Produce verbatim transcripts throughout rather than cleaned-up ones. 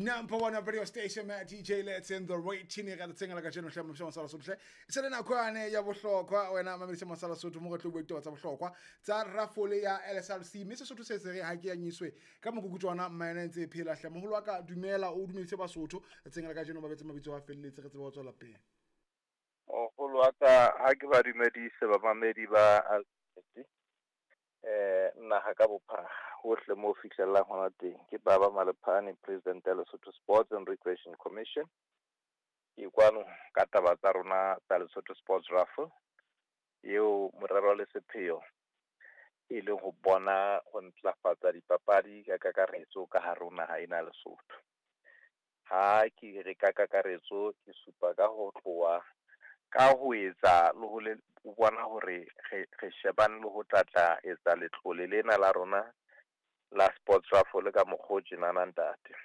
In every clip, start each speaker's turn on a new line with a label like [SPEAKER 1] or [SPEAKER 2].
[SPEAKER 1] Number one radio station, Matt D J Let's in the rating re tsatsing la kajeno hle mosho masala sotho hle. E se le nako yane ya bohlokwa wena mamedisa masala sotho mo re tlo bua ditaba tsa bohlokwa tsa rafole ya L S R C mme Sesotho se se re ha ke ya nyiswe ka mokukutwana mmaena ntse e phela hle moholo wa ka dumela o dumedise Basotho tsatsing la kajeno ba betse mabitso a felletse re tsebe ho tswela pele.
[SPEAKER 2] Moholo wa ka ha ke ba dumedise bamamedi ba L S R C. Eh naha ka bophara hohle mo fihlelang hona teng ke Baba Malephane, President ya Lesotho Sports and Recreation Commission. Ke kwano ka taba tsa rona tsa Lesotho Sports Raffle eo morero le sepheo e leng ho bona ho ntlafatsa dipapadi ka kakaretso ka hare ho naha ena ya Lesotho. Ha ke re ka kakaretso ke supa ka ho tloha ka ho etsa le ho le o bona hore re, re shebane le ho tlatla etsa letlole lena la rona la Sports Raffle ka mokgwa o tjenana ntate.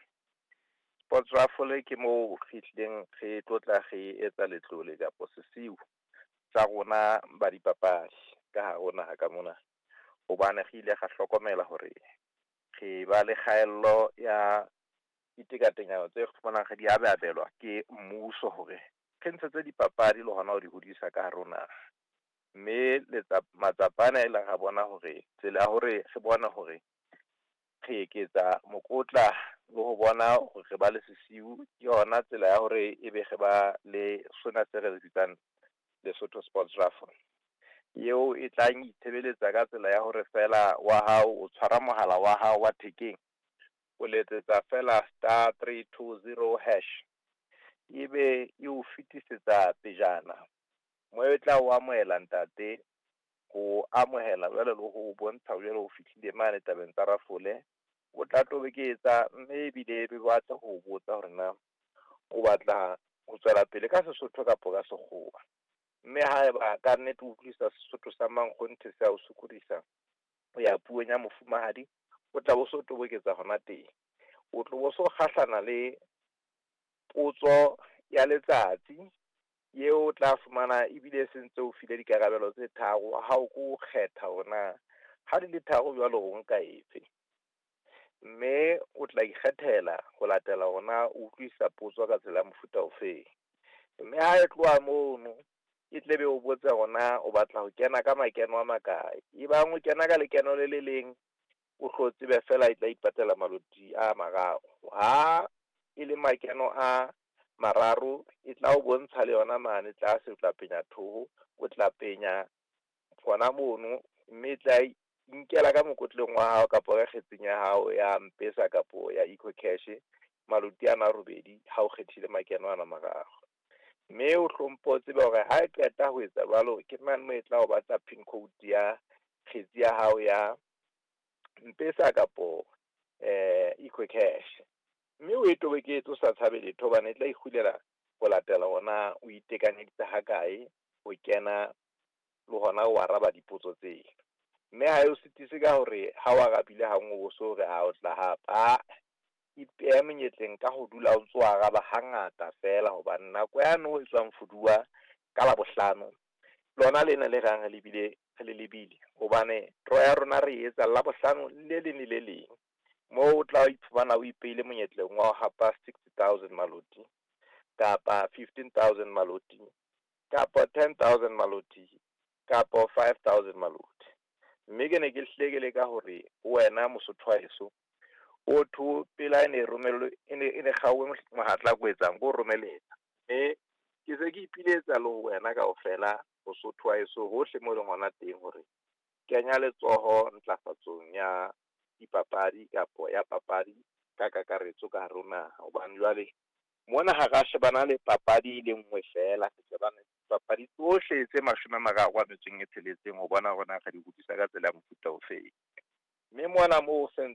[SPEAKER 2] Sports Raffle ke moo re tlileng re tlotla re etsa letlole kapo sesiu tsa rona ba dipapadi ka hare ho naha ka mona, hobane re ile ra hlokomela hore re ba le kgaello ya ditekatekano tse fumanang re di abelwa ke mmuso hore re ntshetse dipapadi le hona ho di hodisa ka hare ho naha. Mme letsa matsapa ana e leng ra bona hore tsela ya hore re bone hore re eketsa mokotla le ho bona hore re ba le sesiu ke yona tsela ya hore ebe re ba le sona se re bitsang Lesotho Sports Raffle. Eo e tlang itshebeletsa ka tsela ya hore fela wa hao o tshwara mohala wa hao wa thekeng, o letsetsa fela star three two zero hash, ebe e o fetisetsa pejana mo e tla o amohela ntate, ho amohela jwale le ho bontsha jwale ho fihlile mane tabeng tsa rafole. O tla toboketsa mme ebile e be batla ho botsa hore na o batla ho tswela pele ka Sesotho kapa ka Sekgowa. Mme haeba ka nnete o utlwisisa Sesotho sa mankgonthe se a o sokodisa ho ya puong ya mofumahadi, o tla bo so toboketsa hona teng. O tlo bo so kgahlana le potso ya letsatsi eo o tla fumana ebile e sentse o file dikarabelo tse tharo ha o ko kgetha hore na ha di le tharo jwalo o nka efe. Mme o tla ikgethela ho latela hore na o utlwisisa potso ka tsela ya mofuta ofeng. Mme ha e tloha mono e tle be o botsa hore na o batla ho kena ka makeno a makae. Ebang o kena ka lekeno le le leng, o tlo tsebe fela e tla ipatela maloti a mararo. Ha e le makeno a mararo e tla o bontsha le yona mane tlase, o tla penya thoho, o tla penya hona mono, mme e tla inkela ka mokotleng wa hao kapa ka kgetseng ya hao ya M-Pesa kapo ya EcoCash maloti ana a robedi ha o kgethile makeno ana mararo. Mme o hlompho o tsebe hore ha e qeta ho etsa jwalo ke mane moo e tla o batla pin code ya kgetsi ya hao ya M-Pesa kapo, eh, EcoCash. Mme o e toboketse o sa tshabe letho hobane e tla ikgulela ho latela hona o itekanyeditse ha kae ho kena le hona o araba dipotso tseo. Mme ha e o sitise ka hore ha o arabile ha nngwe o so re ha o tla hape. Ha ipeha monyetleng ka ho dula o ntso araba hangata fela hobane nako yane o etswang fuduwa ka Labohlano lona lena le rang re lebile, re le lebile hobane draw ya rona re e etsa Labohlano le leng le le leng. Moo o tla iphumana o ipeile monyetleng wa ho hapa sixty thousand maloti kapa fifteen thousand maloti kapa ten thousand maloti kapa five thousand maloti. Mme ke ne ke hlile ke leka hore wena Mosotho wa heso o tho pela e ne romellwe, e ne, e ne kgaowe mohatla ko etsang, ko romeletsa. Mme ke se ke ipiletsa le ho wena kaofela Mosotho wa heso hohle mo leng hona teng hore kenya letsoho ntlafatsong ya dipapadi kapo ya papadi ka kakaretso ka hare ho naha. Hobane jwale mona ha ra shebana le papadi e le nngwe fela, re shebana le dipapadi tsohle tse mashome a mararo a metso e tsheletseng ho bona hore na re di hodisa ka tsela ya mofuta ofeng. Mme mona moo se